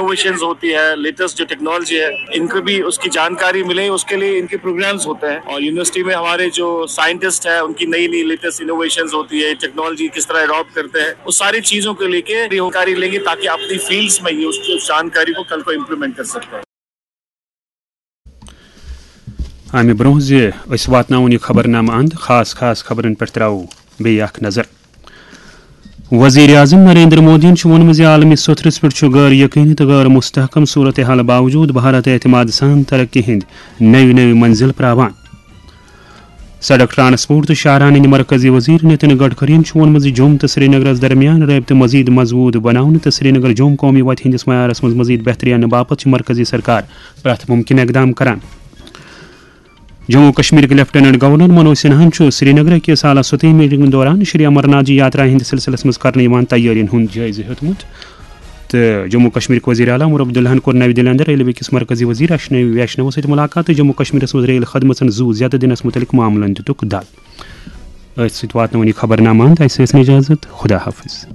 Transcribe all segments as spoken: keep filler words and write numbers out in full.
Innovations ہوتی ہے، latest جو technology ہے، ان کو بھی اس کی جانکاری ملے، اس کے لیے ان کے پروگرامز ہوتے ہیں۔ اور یونیورسٹی میں ہمارے جو سائنٹسٹ ہیں، ان کی نئی نئی لیٹسٹ انوویشنز ہوتی ہے، ٹیکنالوجی کس طرح اڈاپٹ کرتے ہیں، اس ساری چیزوں کو لے کے جانکاری لیں گے، تاکہ اپنی فیلڈز میں یہ اس کی جانکاری کو کل کو امپلیمنٹ کر سکتے ہیں۔ امہِ برونٛہہ زِ أسۍ واتناوون یہِ خبرنامہٕ اند، خاص خاص خبرن پٮ۪ٹھ ترٛاوو بیٚیہِ اکھ نظر۔ وزیر اعظم نریندر مودیَن چھُ ووٚنمُت زِ عالمی سطحس پٮ۪ٹھ چھُ غٲر یقینی تہٕ غٲر مستحکم صورتحال باوجود بھارت اعتماد سان ترقی ہٕنٛدۍ نٔوۍ نٔوۍ منزل پراوان۔ سڑک ٹرانسپورٹ تہٕ شاہراہ ہٕنٛدۍ مرکزی وزیر نتن گڈکرین چھُ ووٚنمُت زِ جوٚم تہٕ سرینگرس درمیان رٲبطہٕ مزید مضبوط بناونہٕ تہٕ سرینگر جوٚم قومی وتہِ ہٕنٛدِس معیارس منٛز مزید بہتری اننہٕ باپتھ چھِ مرکزی سرکار پرٛٮ۪تھ ممکن اقدام کران۔ جموں و کشمیرٕکۍ لیفٹیننٹ گورنر منوج سنہاہن چھُ سرینگرٕ کِس اعلیٰ سطحی میٹنگن دوران شری امرناتھ جی یاترا ہٕنٛدِ سلسلس منٛز کرنہٕ یِوان تیٲرین ہُنٛد جٲیزٕ ہیوٚتمُت تہٕ جموں و کشمیرٕکۍ وزیر اعلیٰ عمر عبداللہن کوٚر نوِ دلہِ اندر ریلوے کِس مرکزی وزیر اشنوی ویشنوَس سۭتۍ ملاقات تہٕ جموں و کشمیرس منٛز ریل خدمژن زُو زیادٕ دِنس مُتعلق معاملن دِتُکھ دل۔ أتھۍ سۭتۍ واتناوون یہِ خبرنامہٕ اند، اسہِ ٲسۍ نہٕ اجازت، خدا حافظ۔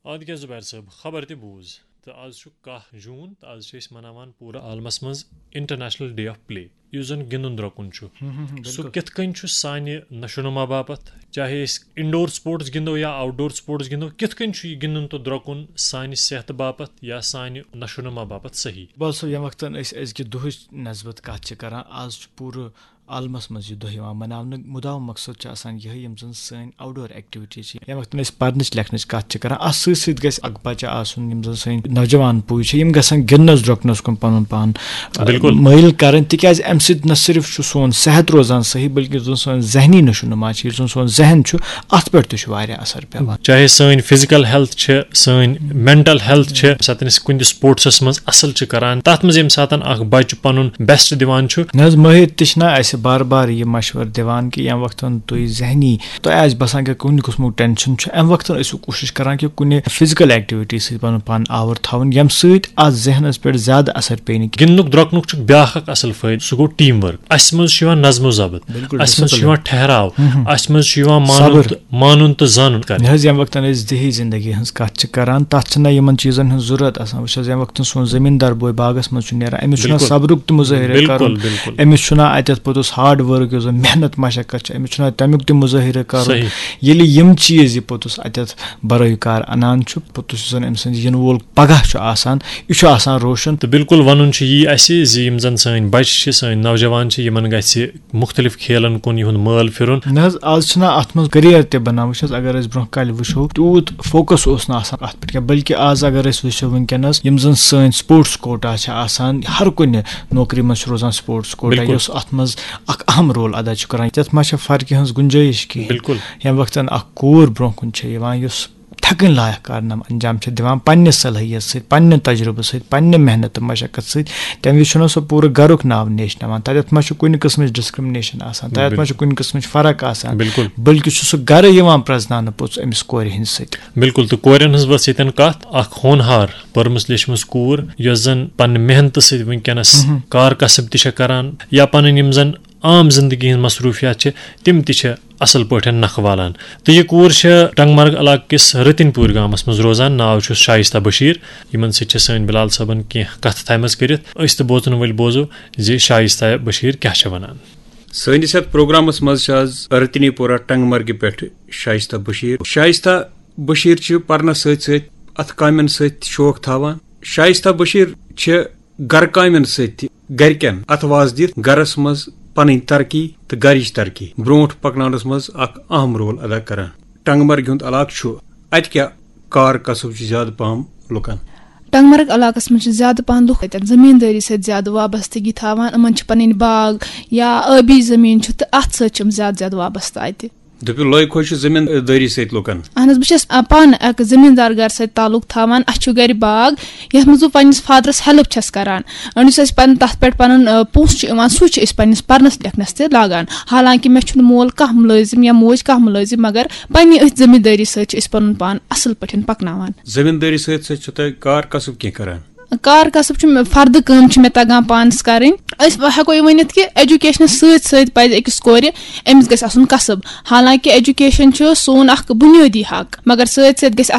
آدگہ زبیر صٲب، خبر تہِ بوٗز۔ تہٕ آز چھُ کاہ جوٗن تہٕ آز چھِ أسۍ مناوان پوٗرٕ عالمس منٛز انٹرنیشنل ڈے آف پلے، یُس زن گِنٛدُن درٛۄکُن چھُ۔ سُہ کِتھ کٔنۍ چھُ سانہِ نشو نما باپتھ، چاہے أسۍ انڈور سپورٹس گِنٛدو یا آوٹ ڈور سپورٹس گِنٛدو، کِتھ کٔنۍ چھُ یہِ گِنٛدُن تہٕ درٛۄکُن سانہِ صحتہٕ باپتھ یا سانہِ نشو نما باپتھ صحیح؟ بس، ییٚمہِ وقتن أسۍ أزکہِ دُہٕچ نسبت کتھ چھِ کران، آز چھُ پوٗرٕ عالمس منٛز یہِ دۄہ یِوان مناونہٕ۔ مُدعا مقصد چھُ آسان یِہے، یِم زن سٲنۍ آوٹ ڈور ایکٹیویٹیز چھِ، ییٚمہِ وقتن أسۍ پرنٕچ لیکھنٕچ کتھ چھِ کران، اتھ سۭتۍ سۭتۍ گژھِ اکھ بچہِ آسُن، یِم زن سٲنۍ نوجوان پُے چھِ، یِم گژھن گِنٛدنس درٛۄکنس کُن پنُن پان، آ، مٲیِل کرٕنۍ، تِکیازِ امہِ سۭتۍ نہ صرف چھُ سون صحت روزان صحیح، بلکہِ یُس زن سٲنۍ ذہنی نشو نما چھِ، یُس زن سون ذہن چھُ، اتھ پٮ۪ٹھ تہِ چھُ واریاہ اثر پٮ۪وان۔ چاہے سٲنۍ فزیکل ہیلتھ چھِ، سٲنۍ مینٹل ہیلتھ چھِ، ییٚمہِ ساتہٕ أسۍ کُنہِ تہِ سپورٹسس منٛز اصل چھِ کران، تتھ منٛز ییٚمہِ ساتہٕ اکھ بچہِ پنُن بیسٹ دِوان چھُ۔ نہ حظ، مٲہِر تہِ چھِنہ اسہِ بار بار یہِ مشورٕ دِوان کہِ ییٚمہِ وقتن تُہۍ ذہنی، تۄہہِ آسہِ باسان کہِ کُنہِ قٕسمُک ٹینشن چھُ، امہِ وقتن ٲسِو کوٗشش کران کہِ کُنہِ فزیکل ایکٹیویٹی سۭتۍ پنُن پان آور تھاوُن، ییٚمہِ سۭتۍ اتھ ذہنس پٮ۪ٹھ زیادٕ اثر پیٚیہِ نہٕ کینٛہہ۔ گِنٛدنُک درٛۄکنُک چھُ بیٛاکھ اکھ اصل فٲیدٕ، سُہ گوٚو ٹیم ورک۔ اسہِ منٛز چھُ یِوان نظم و ضبط، بِلکُل، اسہِ منٛز چھُ discipline۔ یِوان ٹھہراو، ہم، ہم۔ اسہِ منٛز چھُ یِوان مانُن صبر۔ تہٕ، مانُن تہٕ زانُن کرنہٕ۔ نہ حظ، ییٚمہِ وقتن أسۍ دیہی زندگی ہٕنٛز کتھ چھِ کران، تتھ چھنہ یِمن چیٖزن ہٕنٛز ضروٗرت آسان۔ وٕچھ حظ، ییٚمہِ وقتن سون زٔمیٖندار بوے باغس منٛز چھُ نیران، أمِس چھُنہ بِلکُل۔ صبرُک تہِ مُظٲہرٕ بِلکُل، کرُن، بِلکُل۔ أمِس چھُنہ اتٮ۪تھ پوٚتُس ہارڈ ورک، یُس زن محنت مشقت چھِ، أمِس چھُنہ تمیُک تہِ مُظٲہرٕ کرُن۔ صحیح۔ ییٚلہِ یِم چیٖز یہِ پوٚتُس اتٮ۪تھ برٲے کار انان چھُ، پوٚتُس یُس زن أمۍ سٕنٛز یِنہٕ وول پگاہ چھُ آسان، یہِ چھُ آسان روشن۔ تہٕ بِلکُل وَنُن چھُ یی اَسہِ زِ یِم زَن سٲنۍ بَچہِ چھِ، سٲنۍ نوجوان چھِ، یِمَن گژھِ مُختٔلِف کھیلَن کُن یِہُنٛد مٲل پھِرُن۔ نہ حظ، آز چھُنہ اَتھ منٛز کیریَر تہِ بَنان۔ وٕچھ حظ، اگر أسۍ برونٛہہ کالہِ وٕچھو، تیوٗت فوکَس اوس نہٕ آسان اَتھ پٮ۪ٹھ کینٛہہ، بلکہِ آز اگر أسۍ وٕچھو وٕنکیٚنَس یِم زَن سٲنۍ سپوٹس کوٹا چھِ آسان، ہر کُنہِ نوکری منٛز چھُ روزان سپوٹس کوٹا، بِلکُل۔ یُس اَتھ منٛز اَکھ اَہَم رول اَدا چھُ کَران۔ یَتھ ما چھےٚ فرقہِ ہٕنٛز گُنجٲیِش کِہیٖنۍ؟ بِلکُل۔ ییٚمہِ وقتَن اَکھ کوٗر برونٛہہ کُن چھےٚ یِوان، یُس تھکٕنۍ لایق کارنامہٕ انجام چھِ دِوان، پننہِ صلٲحیت سۭتۍ، پننہِ تجربہٕ سۭتۍ، پننہِ محنت تہٕ مشقت سۭتۍ۔ تمہِ وِزِ چھُنہٕ سُہ پوٗرٕ گرُک ناو نیشناوان۔ تتٮ۪تھ ما چھُ کُنہِ قٕسمٕچ ڈسکرمنیشن آسان، تتٮ۪تھ ما چھُ کُنہِ قٕسمٕچ فرق آسان، بِلکُل۔ بلکہِ چھُ سُہ گرٕ یِوان پرزناونہٕ پوٚتُس أمِس کورِ ہِنٛدِ سۭتۍ۔ بِلکُل، تہٕ کورٮ۪ن ہٕنٛز ؤژھ ییٚتٮ۪ن کتھ، اکھ ہونہار، پٔرمٕژ لیچھمٕژ کوٗر، یۄس زن پننہِ محنتہٕ سۭتۍ وٕنکیٚنس کار کسب تہِ چھےٚ کران یا پنٕنۍ یِم زن عام زندگی ہٕنٛز مصروٗفیات چھِ، تِم تہِ چھِ اصل پٲٹھۍ نکھٕ والان۔ تہٕ یہِ کوٗر چھےٚ ٹنٛگمرگ علاقہٕ کِس رٔتِنۍ پوٗرۍ گامس منٛز روزان۔ ناو چھُس شایستہ بشیٖر۔ یِمن سۭتۍ چھِ سٲنۍ بلال صٲبن کینٛہہ کتھٕ تھایمژٕ کٔرِتھ۔ أسۍ تہٕ بوزن وٲلۍ بوزو زِ شایستہ بشیٖر کیٛاہ چھےٚ ونان۔ سٲنِس یتھ پروگرامس منٛز چھِ آز رٔتِنۍ پورہ ٹنٛگمرگہِ پٮ۪ٹھ شایستہ بشیٖر۔ شایستہ بشیٖر چھِ پرنس سۭتۍ سۭتۍ اتھٕ کامٮ۪ن سۭتۍ تہِ شوق تھاوان۔ شایستہ بشیٖر چھِ گرٕ کامٮ۪ن سۭتۍ تہِ گرِکٮ۪ن اتھٕ واز دِتھ گرس منٛز پنٕنۍ ترقی تہٕ گرِچ ترقی برونٛٹھ پکناونس منٛز اکھ اہم رول ادا کران۔ ٹنٛگمرگہِ ہُنٛد علاقہٕ چھُ، اتہِ کیٛاہ کار کسب چھُ زیادٕ پہم لُکن؟ ٹنٛگمرگ علاقس منٛز چھِ زیادٕ پہم لُکھ اتٮ۪ن زٔمیٖندٲری سۭتۍ زیادٕ وابستگی تھاوان۔ یِمن چھِ پنٕنۍ باغ یا ٲبی زٔمیٖن چھُ تہٕ اتھ سۭتۍ چھِ یِم زیادٕ زیادٕ وابستہٕ اتہِ۔ دٔپِو، لۄے خۄش چھُ زٔمیٖندٲری سۭتۍ لُکن؟ اہن حظ، بہٕ چھَس، آ، پانہٕ اَکھ زٔمیٖندار گَرٕ سۭتۍ تعلُق تھاوان۔ اَسہِ چھُ گَرِ باغ، یَتھ منٛز بہٕ پنٛنِس فادرَس ہیلٕپ چھَس کَران۔ أہنٛدِس اَسہِ پَنُن، تَتھ پٮ۪ٹھ پَنُن، آ، پونٛسہٕ چھُ یِوان، سُے چھُ أسۍ پنٛنِس پَرنَس لیکھنَس تہِ لاگان۔ حالانکہِ مےٚ چھُنہٕ مول کانٛہہ مُلٲزِم یا موج کانٛہہ مُلٲزِم، مگر پنٛنہِ أتھۍ زٔمیٖندٲری سۭتۍ چھِ أسۍ پَنُن پان اَصٕل پٲٹھۍ پَکناوان۔ زٔمیٖندٲری سۭتۍ سۭتۍ چھُو تۄہہِ کار کسب کینٛہہ کَران؟ کار کسب چھُ مےٚ، فردٕ کٲم چھِ مےٚ تگان پانس کرٕنۍ۔ أسۍ ہٮ۪کو یہِ ؤنِتھ کہِ ایجوکیشنس سۭتۍ سۭتۍ پزِ أکِس کورِ، أمِس گژھِ آسُن کسب۔ حالانکہِ ایجوکیشن چھُ سون اکھ بُنیٲدی حق، مگر سۭتۍ سۭتۍ گژھِ آسُن